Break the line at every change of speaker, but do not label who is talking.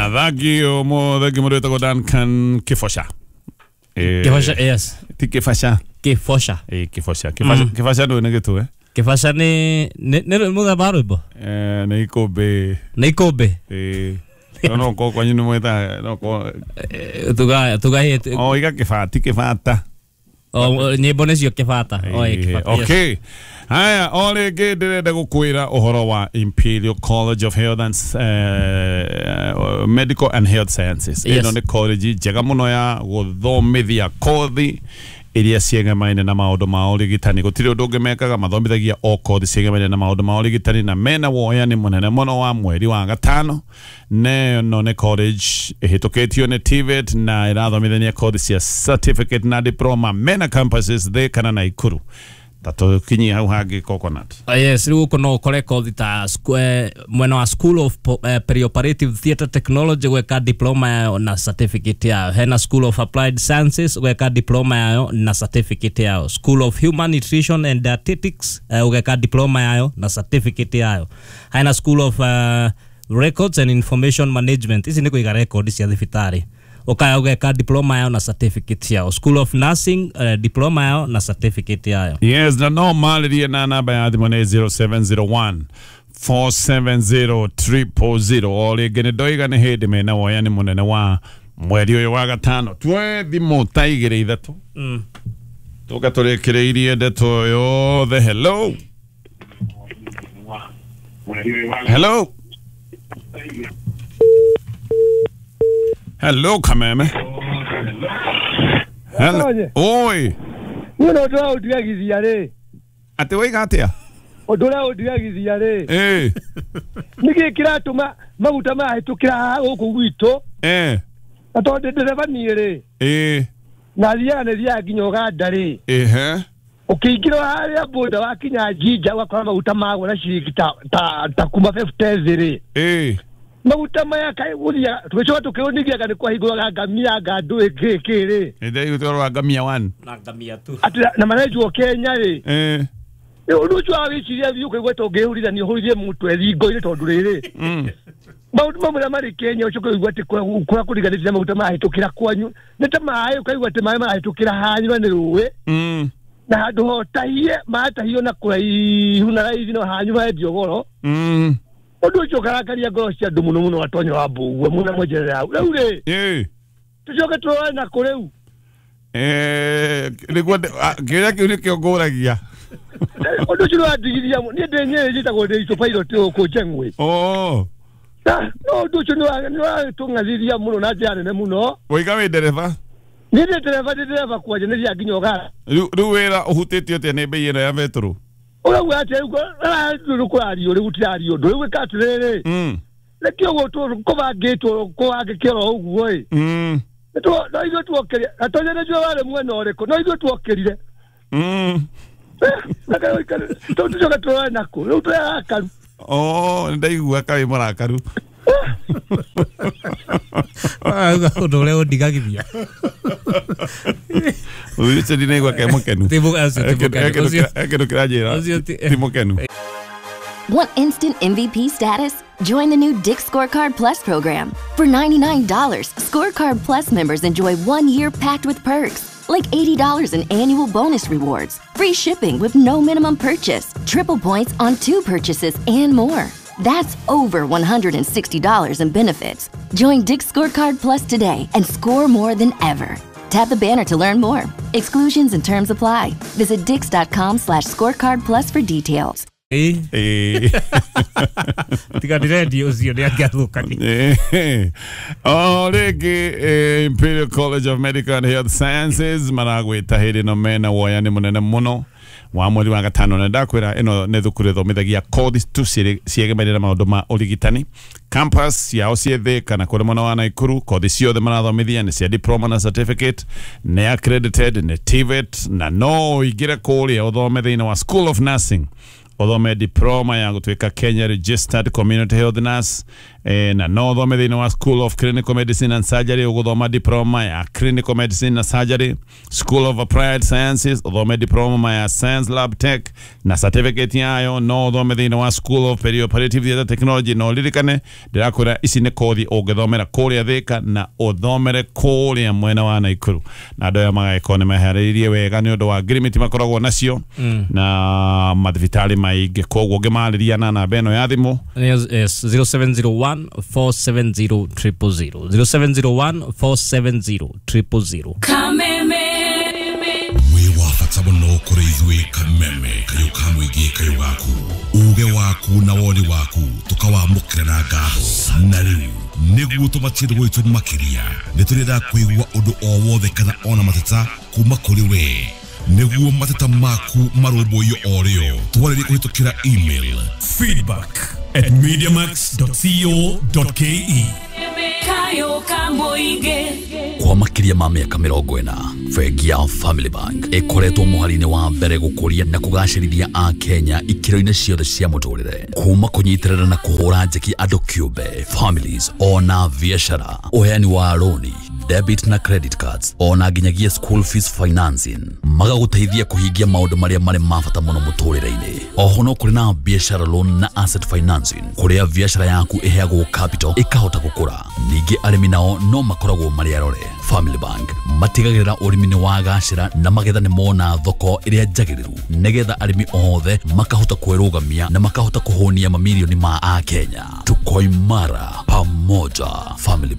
Na thangio mothe mũndũ wĩtagwo Duncan Kĩboca.
Kĩboca, yes.
Ti Kĩbaca.
Kĩboca.
Kĩboca. Kĩbaca Kĩbaca ndũĩ nĩ gĩtwe.
Kĩbaca nĩ mũthemba wa rwĩmbo.
Nĩ ikũmbĩ.
Nĩ ikũmbĩ.
No ko kwanyu nĩ mwĩtaga no ko
Tuga
o iga kĩbati kĩbata.
O nyĩmbo nĩcio kĩbata. O kĩbata.
Okay. Haya, o rĩngĩ ndĩrenda gũkwĩra ũhoro wa Imperial College of Health and Medical and Health Sciences. Ĩno nĩ college njega mũno ya gũthomithia kothi iria ciegemaine na maũndũ ma ũrigitani. Gũtirĩ ũndũ ũngĩ mekaga, mathomithagia o kothi ciegemaine na maũndũ ma ũrigitani, na mena woyani mũnene mũno wa mweri wa gatano. Na ĩno nĩ college ĩhĩtũkĩtio nĩ TVET na ĩrathomithania kothi cia certificate na diploma. Mena campuses Thika na Nakuru. Tatukinyie hau hangĩ Coconut.
Yes, rĩu gũkũ no ũkore kothi ta mwena wa School of Perioperative Theatre Technology gweka diploma yayo na certificate yayo. Hena School of Applied Sciences gweka diploma yayo na certificate yayo. School of Human Nutrition and Dietetics gweka diploma yayo na certificate yayo. Hena School of Records and Information Management, ici nĩ kũiga record cia thibitarĩ. Ukaya ugeka diploma yao na certificate yao. School of Nursing diploma yao na certificate yao.
Yes, na no marĩrie na namba ya thimũ nĩ 0701 470 000. O rĩngĩ nĩ ndoiga nĩ hĩndĩ mena woyani mũnene wa mweri ũyũ wa gatano. Tuoe thimũ ta igĩrĩ ithatũ. Tũka tũrĩkĩrĩirie ndeto yothe. Hello. Hello. Hello, Kameme. Hello. Oi.
Niĩ no ũndũ ũrĩa rĩ.
Atĩ woiga atĩa?
Ũndũ ũrĩa ũndigagithia rĩ. Nĩkĩ kĩratũma maguta marahĩtũkĩra haha gũkũ gwitũ? Na tondũ ndereba niĩ rĩ. Na thiaga nĩ thiaga nginya Ũganda rĩ. Ũkĩingĩra harĩa boda wakinya Jinja ũgakora maguta magwo na ciringi ta kuma 50 rĩ. Maguta maya kaĩ gũthiaga tũgĩcoka tũkĩũnithiaga nĩ kwahingũraga ngamia nga ndũĩ kĩ kĩ rĩ.
Nĩ ngamia 1
na ngamia 2.
Atĩ na marenjwo Kenya rĩ. Ũndũ ũcio wa wĩciria thiĩ ũkaigua ta ũngĩhũrithania ũhũrithie mũtwe thingo-inĩ tondũ rĩrĩ. Maũndũ mamwe marĩa marĩ Kenya ũcoke ũigue atĩ kũrĩa kũriganĩtie na maguta marahĩtũkĩra kwanyu nĩ ta maĩ, ũkaigua atĩ maĩ marahĩtũkĩra hanyu na nĩ rũĩ. Na handũ hotahie matahio na kũraihu na raithi no hanyu marendio goro. Ũndũ ũcio ũkarakaria ngoro cia andũ mũno mũno Gatonyo wa Mbũgua mũno mwenjerera hau. Rĩu rĩ, tũcoke tũrore nakũ rĩu?
Nĩguo kĩũria kĩu nĩkĩo ngũragia.
Ũndũ ũcio nĩwandigithia mũno. Niĩ ndĩ Nyĩrĩ njĩtagwo ndĩ Icũ Pilot gũkũ Njeng'we. No ũndũ ũcio nĩwatũng'athithia mũno na njĩra nene mũno.
Woiga wĩ ndereba?
Niĩ ndĩ ndereba, ndĩ ndereba kwanja nĩ thiaga nginya Ũganda.
Rĩu wĩra ũhutĩtio atĩa nĩ bei ĩno ya betũrũ?
Ũrauga atĩa rĩu kũrario rĩu gũtirario ũndũ rĩu ĩka atĩrĩrĩ. Nĩkĩo ũguo kũbangĩtwo kũhangĩke oro ũguo ĩ. No ithuĩ tuokĩrire Gatonyo nĩnjũĩ warĩ mwena ũrĩkũ, no ithuĩ tuokĩrire. Tũcoke tũrore nakũ rĩu tũrĩ arakaru.
Nĩndaigua kaĩ mũrakaru.
Ũndũ ũrĩa ũndigagithia.
Ũcio ndinaigua ke mũkenu. Kĩndũ kĩranjĩra ti mũkenu.
Want instant MVP status? Join the new Dick's Scorecard Plus program. For $99, Scorecard Plus members enjoy 1 year packed with perks, like $80 in annual bonus rewards, free shipping with no minimum purchase, triple points on 2 purchases, and more. That's over $160 in benefits. Join Dick's Scorecard Plus today and score more than ever. Tap the banner to learn more. Exclusions and terms apply. Visit dicks.com/scorecard plus for details.
Tiga ndĩrendia ũcio nĩ angĩathũkania.
O rĩngĩ Imperial College of Medical and Health Sciences maragwĩta hĩndĩ ĩno mena woyani mũnene mũno wa mweri wa gatano, na ndakwĩra ĩno nĩ thukuru ĩthomithagia kothi tu ciegemeire na maũndũ ma ũrigitani. Campus yao ciĩ Thika na kũrĩ mwena wa Nakuru. Kothi ciothe marathomithia nĩ cia diploma na certificate, nĩ accredited nĩ TVET, na no ũingĩre kũrĩa ũthome thĩinĩ wa School of Nursing, ũthome diploma ya gũtuĩka Kenya Registered Community Health Nurse. Na no ũthome thĩinĩ wa School of Clinical Medicine and Surgery, ũgũthoma diploma ya Clinical Medicine na Surgery. School of Applied Sciences, ũthome diploma ya Science Lab Tech na certificate yayo. No ũthome thĩinĩ wa School of Perioperative Theatre Technology. No ũririkane ndĩrakwĩra ici nĩ kothi ũngĩthomera kũrĩa Thĩka na ũthomere kũrĩa mwena wa Naikuru, na andũ aya magagĩkorwo nĩ meharĩirie wega nĩ ũndũ wa ngirimiti makoragwo nacio na mathibitarĩ maingĩ. Koguo ũngĩmarĩria na namba ĩno ya thimũ.
Yes, 0701 470 000, 0701 470 000.
Kameme.
Wĩ wa bata mũno kũrĩ ithuĩ Kameme, kayũ ka mũingĩ, kayũ gaku, uge waku na woni waku tũkawamũkĩra na ngatho. Na rĩu nĩguo tũmatie gwitũ makĩria, nĩ tũrenda kũigua ũndũ o wothe kana ona mateta kuma kũrĩ we, nĩguo mateta maku marũmbũiyo o rĩo. Twarĩrie kũhĩtũkĩra email
feedback@mediamax.co.ke.
Kayo ka mũingĩ.
Kwa makĩria ma mĩaka 40, bengi ya Family Bank ĩkoretwo mũhari-inĩ wa mbere gũkũria na kũgacĩrithia Akenya ikĩro-inĩ ciothe cia mũtũrĩre, kuma kũnyitĩrĩra na kũhũra njeki andũ kĩũmbe, families ona biacara, ũheani wa rũni, debit na credit cards, ona nginyagia school fees financing, magagũteithia kũhingia maũndũ marĩa marĩ ma bata mũno mũtũrĩre-inĩ. Oho no kũrĩ na biacara loan na asset financing, kũrĩa biacara yaku ĩheagwo capital ĩkahota gũkũra. Ningĩ arĩmi nao no makoragwo marĩ arore. Family Bank matigagĩrĩra ũrĩmi nĩ wagacĩra na magetha nĩ mona thoko ĩrĩa njagĩrĩru, nĩgetha arĩmi othe makahota kwĩrũgamia na makahota kũhũnia mamirioni ma Akenya. Tuko imara pamoja. Family Bank.